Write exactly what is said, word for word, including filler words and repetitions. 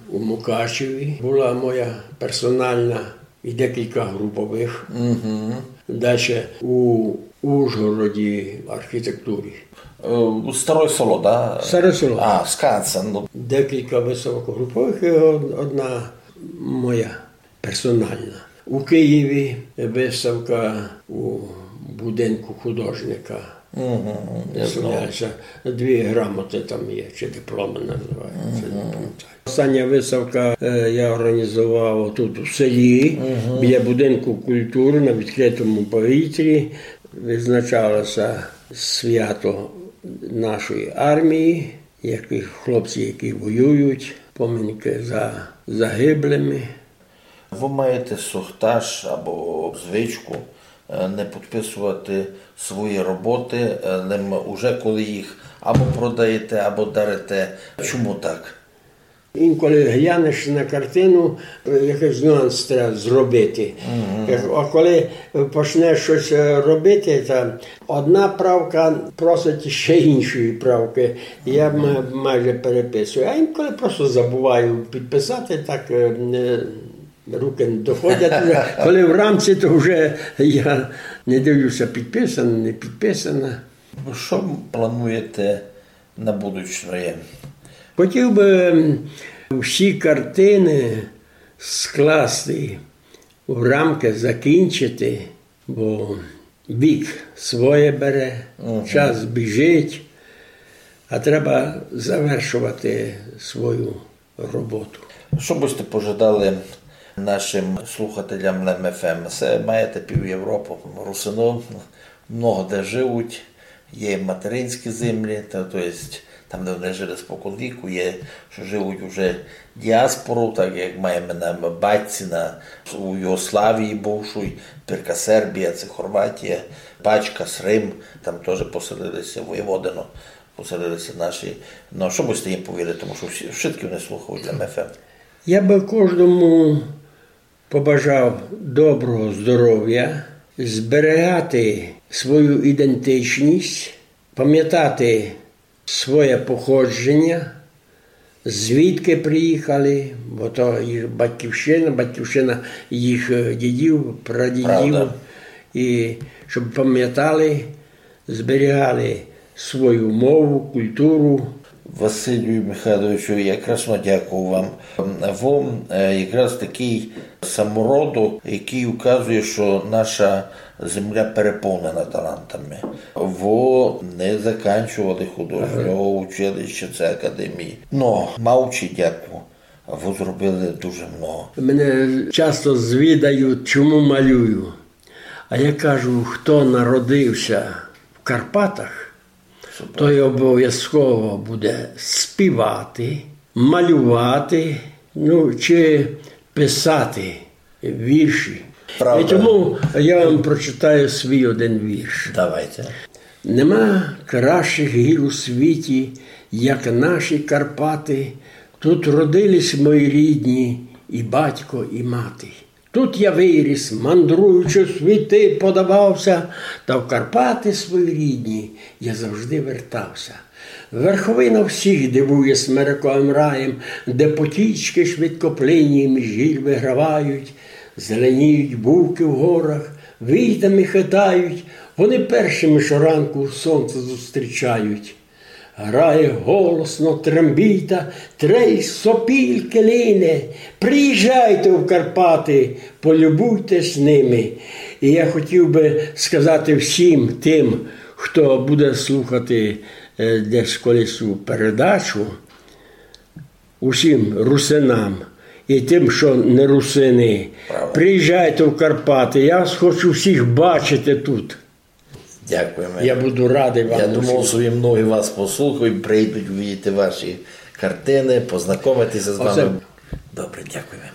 У Мукачеві была моя персональна і декілька груповых. Дальше у Ужгороді архітектурі. Е, Староє Село, да? Староє Село. А, Скансен, ну. Декілька выставок груповых і од-, одна моя персональна. У Києві выставка у будинку художника. Выставляються. Дві грамоты там є, чи дипломы называються, не памятаю. Остання выставка, е, я організовав тут у селі, біля будинку культуры на відкрытому повітрі. Визначалося свято нашої армії, які хлопці, які воюють, поминки за загиблими. Вы маєте сохташ або звичку, е, не підписовати свої роботы, е, лем уже коли їх або продаєте, або дарите. Чому так? Інколи глянеш на картину, е, якийсь нюанс треба зробити. Як-, а коли почнеш щось, е, робити, та одна правка просить ще іншої правки. Я ма-, майже переписую. А інколи просто забуваю підписати, так, е, не, руки не доходять. Уже коли в рамці, то вже я не дивлюся, підписана, не підписана. Що плануєте на будучноє? Хотів би, м, всі картины скласти в рамки, закінчити, бо вік своє бере, час біжить, а треба завершувати свою роботу. Що бы сьте пожадали нашим слухателям Лем Ф М? Се маєте пів Європы, русины много де живуть, є материнські землі, та, то єсть там, де вони жили спокон віку, є, що живуть уже діаспору, так як маєме на батьці на, у Югославії бувшій, тепер Сербія, це Хорватія, Пачкас, Рим, там тоже поселили ся, Воєводино, поселили ся наші. Ну, що бы сьте їм повіли, тому що всі, всі вони слухають Лем Ф М. Я бы кожному побажав доброго здоров'я, зберігати свою ідентичність, пам'ятати своє походження, звідки приїхали, бо то їх батьківщина, батьківщина їх, е, дідів, прадідів. Правда. І щоб пам'ятали, зберігали свою мову, культуру. Василю Михайловичу, я красно дякую вам. Вы, е, якраз такый самородок, якый указує, що наша земля переповнена талантами. Вы не заканчовали художнього училища, це академії. Но, маючи дяку, вы зробили дуже много. Мене часто звідають, чому малюю. А я кажу, хто народився в Карпатах, той обов'язково буде співати, малювати, ну, чи писати вірші. Правда. І тому я вам прочитаю свій один вірш. Давайте. Нема кращих гір у світі, як наші Карпаты. Тут родились мої рідні, і батько, і мати. Тут я виріс, мандруючи в світи, подавався, та в Карпаты свої рідні я завжди вертався. Верховина всіх дивує смерековим раєм, де потічки швидкоплинні між гір вигравають, зеленіють бувки в горах, війтами хитають, вони першими щоранку сонце зустрічають. Грає голосно трембіта, трей сопіль килине. Приїжджайте в Карпаты, полюбуйтесь ними. І я хотів би сказати всім тим, хто буде слухати, е, десь колись цю передачу, усім русинам і тим, що не русины. Правда. Приїжджайте в Карпаты, я вас хочу всіх бачити тут. Дякуєме. Я буду радый вам. Я думав, усім, що і многі вас послухають, прийдуть увидіти ваші картины, познакомитися з вами. Добре, дякуєме.